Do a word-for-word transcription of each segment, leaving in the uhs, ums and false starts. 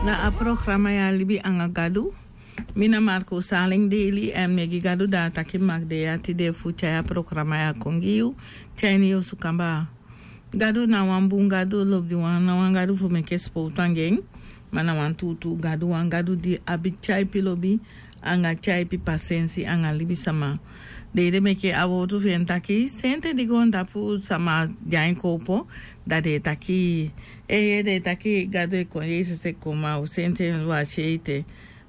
Na a programa ya libi anga Gadu. Mi na Marco Saleng Daily èn mi e gi Gadu da taki mi maki de ya tide fu tyai a programa ya kon gi yu. Tyai ini yu osu kamba. Gadu na wan bun Gadu, lobiwan, na wan Gadu fu meke sipowtu anga en. Ma na wan tuutuu Gadu, wan Gadu di abi tyaipi lobi anga tyaipi pasensi anga libisama. Den ede meke a wowtu fu en taki sente di goontapu sama de a en kowpo, da den e taki, eeye, den e taki Gadu e kon, Yesus e kon, ma u sente en wasi ete.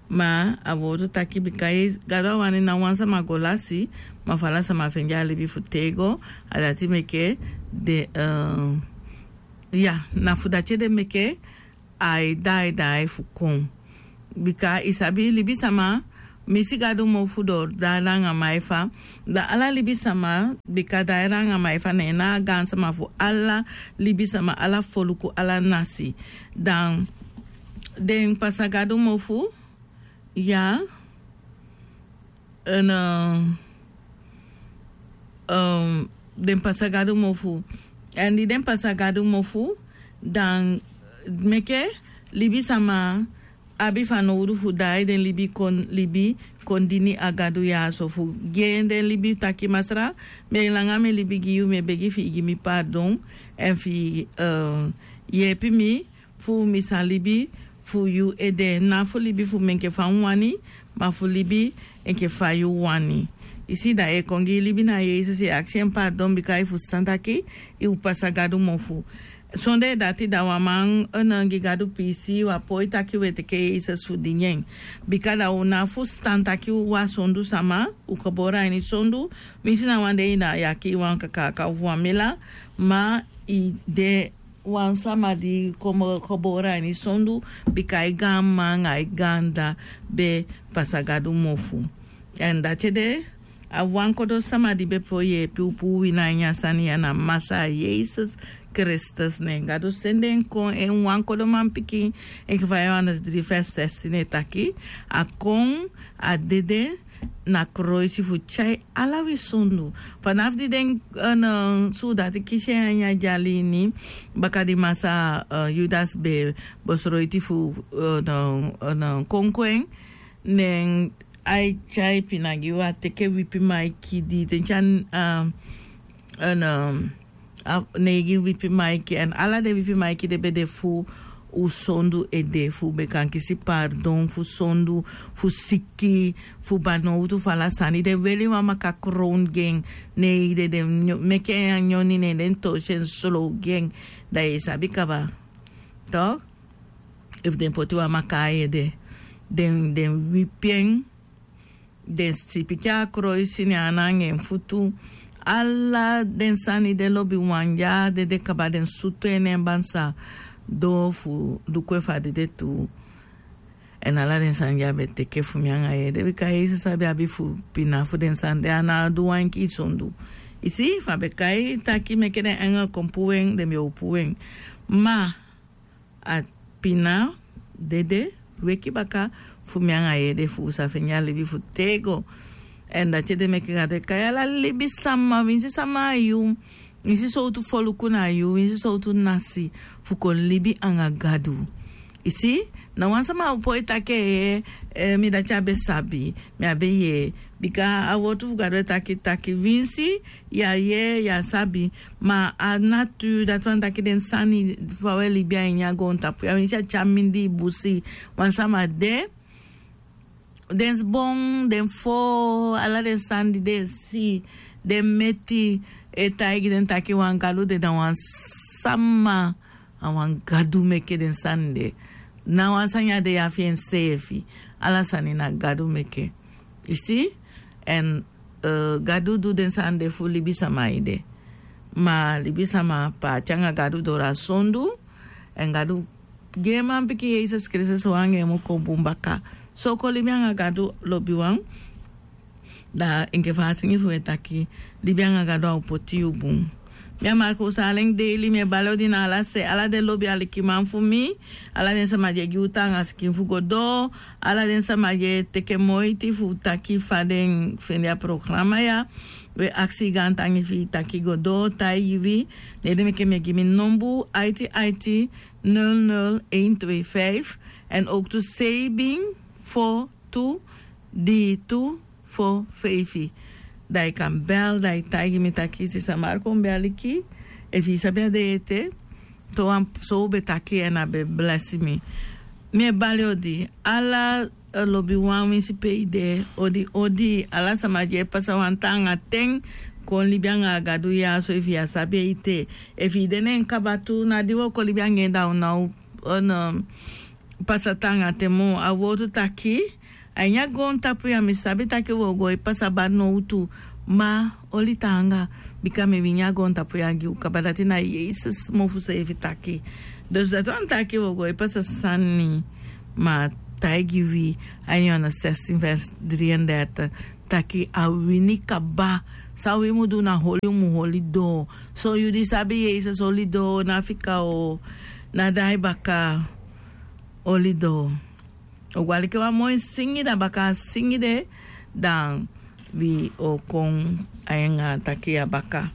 Ma a wowtu taki bika Gadu a wani na wan sama go lasi, ma fu ala sama fende a libi fu tego. A dati meke den, eh, ya, na fu dati ede meke ai daai daai fu kon. Bika i sabi libisama misi Gadu mofu dori daai langa maifa. Da ala libisama, bika daai langa maifa na en na a gaansama fu ala libisama, ala foluku, ala nasi. Dan den pasa Gadu mofu, ya, en, eh, em, den pasa Gadu mofu. Èn di den pasa Gadu mofu, dan meke libisama abi fanowdu fu daai den libi kon, libi kon dini a Gadu ya so fu gi en den libi taki: Masra, mi e langa mi libi gi yu, mi e begi fi i gi mi pardon, èn fi i, eh, yeepi mi fu mi sa libi fu yu ede, na fu libi fu mi enke fa mi wani, ma fu libi enke fa yu wani. I si, da i e kon gi i libi na Yesus, i e aksi en pardon bika i fusutan taki i o pasa Gadu mofu. Sondee dati da wan man, eh, no gi Gadu piisii, wan poi taki u e teke Yesus fu dini en. Bika da u na fusutan taki u a sondu sama, u gebore a ini sondu. Winsi na wan dei na i e kii wan kakaaka ofu wan mela, ma i de wan sama di komo gebore a ini sondu, bika i gaanmma anga i gaandda be pasa Gadu mofu. Èn dati ede, a wan kodo sama di be poi yeepi u puu wini a ini a sani ya na Masaa Yesus Kristus. Ne Gadu sende en kon, en wan kodo manpikin, enke fa Yohanes dri vers zestien e taki, a kon, a dede na kroisi fu tyai ala wi sondu. Fanafu di den, eh, no, suudati kisi en a ini a dyali ini, baka di Masaa, eh, Yudas be bosroiti fu, eh, no, eh, no, konko en, ne ai tyai pina gi u, a teke wipi maiki di den tyai, eh, eh, no, a neigi wipi maiki, èn ala den wipi maiki den be de fu u sondu ede, fu u be kan kisi pardon fu sondu, fu siki, fu banowtu, fu ala sani. Den weli wan maka krown gi en, ne i de den nyo-, meke en a nyoni, ne den tosi en slow gi en. Da i e sabi kaba. Toch? Efu den poti wan maka a ede, den, den wipi en, den sipiki a kroisi ne en ana anga en futu. Ala den sani de lobiwan ya, dede kaba, den sutu en ne en bansa doo fu luku efu a dede tuu. Èn ala den sani ya be teke fu mi anga yu ede, bika Yesus abi abi fu pina fu den sani de, a ná du wan enkii sondu. I si, fa a be kai taki meke den engel kon puu en, den be o puu en. Ma a pina dede weki baka fu mi anga yu ede, fu u sa fende a libi fu tego. Èn dati ede meke Gadu e kai ala libisama, winsi sama a yu, winsi sowtu foluku na yu, winsi sowtu nasi, fu kon libi anga Gadu. I si, ná wan sama o poi taki, eh, eh, mi dati á be sabi, mi á be yee. Bika a wowtu fu Gadu e taki taki winsi yu á yee, yu á sabi, ma a nature, dati wani taki den sani fa u e libi a ini a goontapu ya, winsi a tyari mindii busi, wan sama de, den sbon, den foo, ala den sani di den e si, den meti, e taigi den taki wan Gadu de, na wan sama, a wan Gadu meke den sani de. Ná wan sani á de ya fi enseefi. Ala sani na Gadu meke. I si? Èn, eh, Gadu du den sani de fu libisama ede. Ma libisama paati anga Gadu doro a sondu. Èn Gadu gi en manpikin Yesus Kristus, u anga en mu kon bun baka. So kon libi anga Gadu, lobiwan. Da enke fa a singi fu e taki, libi anga Gadu a o poti yu bun. Mi a Marco Saleng Daily, mi e bali odi na ala se, ala den lobi alikiman fu mi, ala den sama di e gi u taanga sikin fu go doo, ala den sama di e teke moiti fu taki fa den fende a programa ya. Wi e aksi gaantangi fi i taki go doo, taigi wi, ne den meke mi e gi mi nombu, aiti aiti, nul nul een twee vijf, èn owktu seibin fo tu dii tu fo feifi. Dan yu kan bel, dan yu taigi mi taki sisa marko mi ben aliki. Efu yu sabi a de ete, towan so un ben taki èn a ben blesi mi. Mi e bali odi ala lobiwan winsi pe yu de. Odi odi ala sama di e pasa wan taanga ten kon libi anga a gadu ya so efu yu á sabi en ete. Efu yu de na en kaba tu na di wi o kon libi anga en da un na o pasa taanga ten moo a wortu taki a ini a goontapu ya mi sabi taki wi o go e pasa bari nowtu. Ma oli taanga bika mi wini a goontapu ya gi un kaba dati na yesus mofu seefi taki. Dus dati wani taki wi o go e pasa sani. Ma a taigi wi a ini yohanes sestin vers dri en dertig taki a wini kaba. San wi mu du na holi un mu holi doo. So yu di sabi yesus holi doo na fika o na dai baka. Holi doo. O go aliki wan moi singi dan baka a singi de dan wi o kon a en a taki a baka.